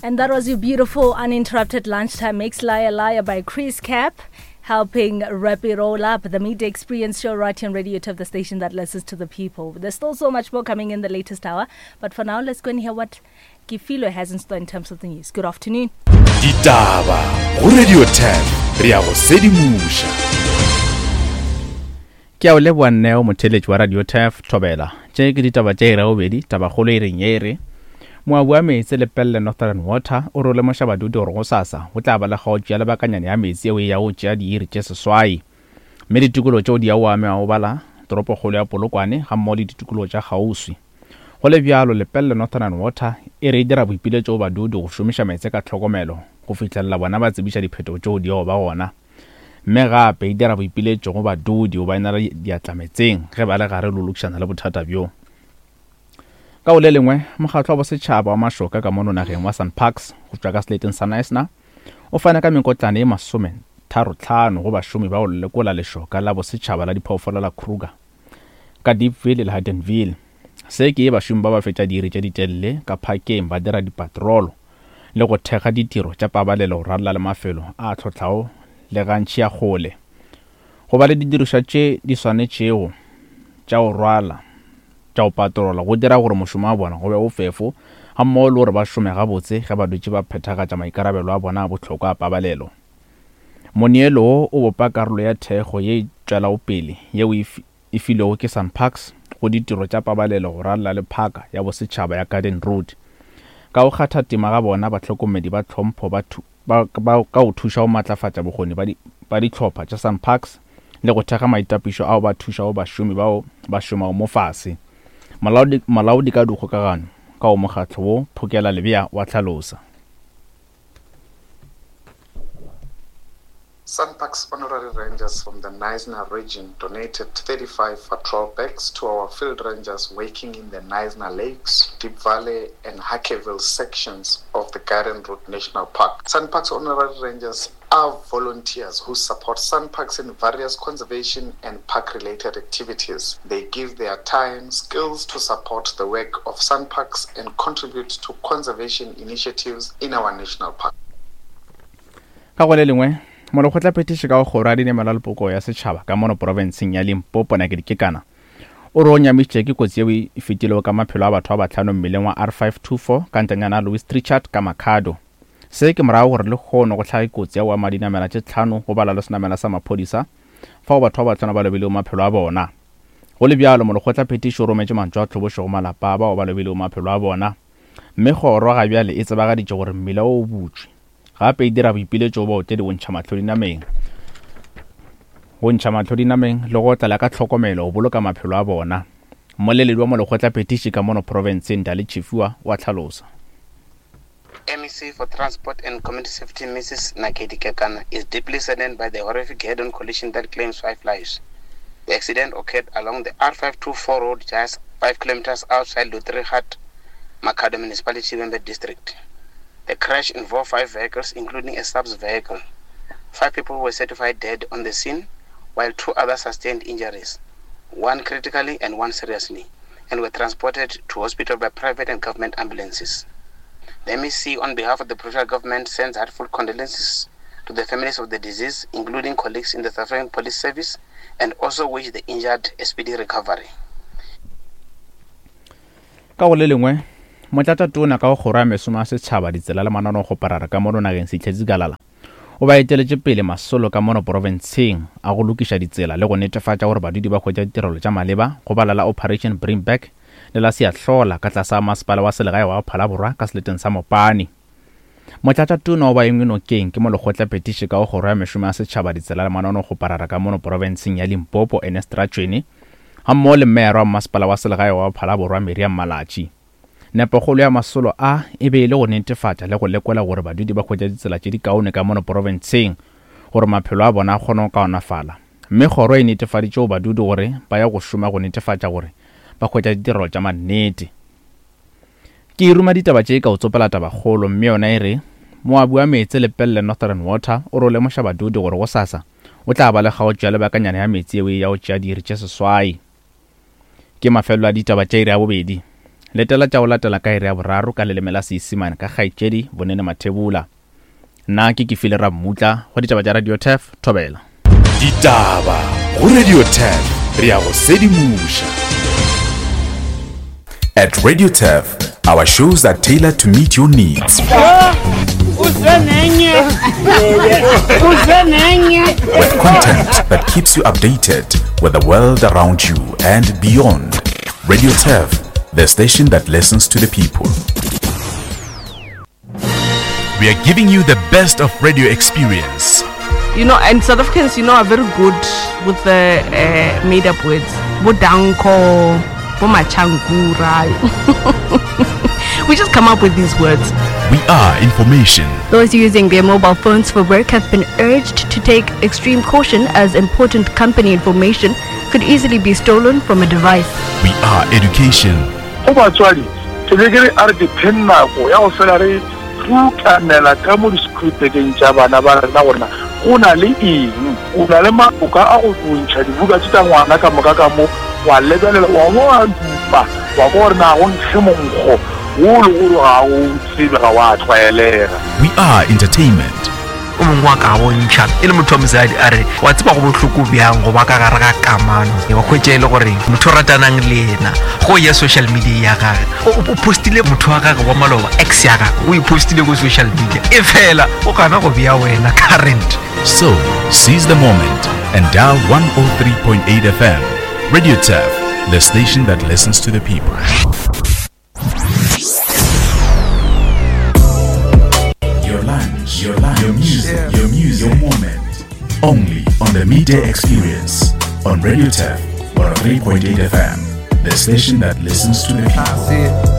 And that was your beautiful uninterrupted lunchtime mix, Liar Liar by Chris Cap, helping wrap it all up. The Midday Experience Show right here on Radio 2, the station that listens to the people. There's still so much more coming in the latest hour, but for now, let's go and hear what Kefilo has in store in terms of the news. Good afternoon. Ditaba go Radio 10 re ya go sedimoša. Ke a o leboa Neo motheeletši wa Radio Turf Thobela. Tše ke ditaba tša iri ya bobedi, tabakgolo e reng ye e re, Moabi wa meetse Lepelle Northern Water o re o lemoša badudi gore gosasa go tla ba le kgaotšo ya lebakanyana ya meetse yeo e yago go tšea diiri tše seswai. Mme ditikologo tšeo di yago amewa go bala toropokgolo ya Polokwane gammogo le ditikologo tša kgauswi. Go le bjalo, Lepelle Northern Water e re e dira boipiletšo go badudi go šomiša meetse ka tlhokomelo go fihlelela bona ba tsebiša diphetogo tšeo di yago ba gona. Mme gape e dira boipiletšo go badudi go ba inela diatla meetseng ge ba le gare le go lokišana le bothata bjo. Ka go le lengwe, mokgatlo wa bosetšhaba wa mašoka ka mono nageng wa SANParks go tšwa ka seleteng sa Knysna o fane ka mekotlana ye masometharotlhano go bašomi ba go lekola lešoka la bosetšhaba la diphoofolo la Kruger ka Deepville le Haddonville. Se ke bašomi ba ba fetša diiri tše ditelele ka phakeng ba dira dipatrolo le go thekga ditiro tša pabalelo go ralala le mafelo a tlhohlago le gantši a kgole. Go ba le didirišwa tše di swanetšego tša go rwala tša go patrola go dira gore mošomo wa bona go be bofefo gammogo le gore ba šome gabotse ge ba dutše ba phethagatša maikarabelo a bona a bohlokwa a pabalelo. Moneelo wo o bopa karolo ya thekgo ye e tšwelago pele yeo e e filwego ke SANParks go ditiro tša pabalelo go ralala le Phaka ya Bosetšhaba ya Garden Route. Ka go kgatha tema ga bona, bahlokomedi ba tlhompho ba ba ba ka go thuša go matlafatša bokgoni ba ba dihlopha tša SANParks le go thekga maitapišo ao ba thušago bašomi bao ba šomago mo fase. Molaodi Molaodi ka dikgokagano ka go mokgatlo wo, Phokela Lebea wa hlalosa. SANParks Honorary Rangers from the Knysna region donated 35 patrol bags to our field rangers working in the Knysna Lakes, Deep Valley and Hackeville sections of the Garden Route National Park. SANParks Honorary Rangers are volunteers who support SANParks in various conservation and park-related activities. They give their time, skills to support the work of SANParks and contribute to conservation initiatives in our national park. Ka go le lengwe, molekgotlaphethiši ka go kgoro ya dinamelo le poko ya setšhaba ka mono profenseng ya Limpopo Nakedi Kekana o re o nyamišitše ke kotsi yeo e fetilego ka maphelo a batho ba bahlano mmileng wa R524 ka ntanyana ya Louis Trichardt ka Makhado. Se ke morago gore lehono go hlage kotsi ya go ama dinamela tše tlhano go bala le senamela sa maphodisa fao batho ba bahlano ba lobilego maphelo a bona. Go le bjalo, molekgotlaphethiši o rometše mantšu a tlhobošo go malapa a bao ba lobilego maphelo a bona. Mme kgoro ga bjale e tsebagaditše gore mmila wo o butšwe. Gape e dira boipiletšo go baotledi go ntšha mahlo dinameng, go ntšha mahlo dinameng le go otlela ka tlhokomelo go boloka maphelo a bona. Mmoleledi wa molekgotlaphethiši ka mono profenseng Dali Tshifhiwa o a hlalosa. MEC for Transport and Community Safety Mrs Nakedi Kekana is deeply saddened by the horrific head-on collision that claims five lives. The accident occurred along the R524 road just 5 kilometers outside Lutrihat, Makhado Municipality, Vhembe District. The crash involved five vehicles, including a subs vehicle. Five people were certified dead on the scene, while two others sustained injuries, one critically and one seriously, and were transported to hospital by private and government ambulances. The MEC, on behalf of the provincial government, sends heartfelt condolences to the families of the deceased, including colleagues in the South African Police Service, and also wish the injured a speedy recovery. Ka go le lengwe, Motlatšatona ka go Kgoro ya Mesomo ya Setšhaba, Ditsela le Mananeokgoparara ka mono nageng Sihle Zikalala o ba eteletše pele masolo ka mono porofenseng a go lokiša ditsela le go netefatša gore badudi ba hwetša ditirelo tša maleba go bala la Operation Bring Back le la Siyahlola ka tlase ga Masepala wa Selegae wa Phalaborwa ka seleteng sa Mopani. Motlatšatona o ba engwe nokeng ke Molekgotlaphethiši ka go Kgoro ya Mešomo ya Setšhaba, Ditsela le Mananeokgoparara ka mono porofenseng ya Limpopo Ernest Ratšwene gammogo le Meyara wa Mmasepala wa Selegae wa Phalaborwa Miriam Malatji. Nepokgolo ya masolo a e be e le go netefatša le go lekola gore badudi ba hwetša ditsela tše dikaone ka mono porofenseng gore maphelo a bona a kgone go kaonafala. Mme kgoro e netefaditše go badudi gore ba ya go šoma go netefatša gore ba hwetša ditirelo tša mannete. Ke e ruma ditaba tše ka go tsopela tabakgolo mme yona e re, Moabi wa meetse Lepelle Northern Water o re o lemoša badudi gore gosasa o tla ba le kgaotšo ya lebakanyana ya meetse yeo e ya go tšea diiri tše seswai. Ke mafelelo a ditaba tša iri ya bobedi. Letela tša go latela ka iri ya boraro ka leleme la Seisimane ka kgaetšedi Bonene Mathebula. Nna ke Kefile Rammutla go ditaba tša Radio Turf, Thobela. Ditaba go Radio Turf, re a go sedimoša. At Radio Turf, our shows are tailored to meet your needs. With content that keeps you updated with the world around you and beyond. Radio Turf, the station that listens to the people. We are giving you the best of radio experience. You know, and South Africans, you know, are very good with the uh, made up words. Bodanko, Bomachankura. we just come up with these words. We are information. Those using their mobile phones for work have been urged to take extreme caution as important company information could easily be stolen from a device. We are education. Go batswadi, ke be ke re a re dipheng nako ya go fela re rutanela ka mo disekhurupekeng tša bana ba rena gore na go na le eng. O na le maloka a go ntšha dibuka tše tša ngwana ka moka ka mo, wa lebelela, wa bo wa dupa, wa kwa gore na go nkge monkgo wo le gore ga o tsebe, ga wa tlwaelega. We are entertainment. O mongwe wa ka bontšha e le motho wa mosadi a re wa tseba go bohloko bjang go ba ka gare ga kamano wa hwetša e le gore motho o ratanang le yena go ya social media ya gage o postile motho wa gage wa maloba ex ya gage o e postile ko social media e fela o gana go bea wena current. So, seize the moment and dial 103.8 FM. Radio Turf, the station that listens to the people. Your lunch, your lunch, your music, your music, your moment. Only on the Midday Experience on Radio Turf 103.8 FM, the station that listens to the people.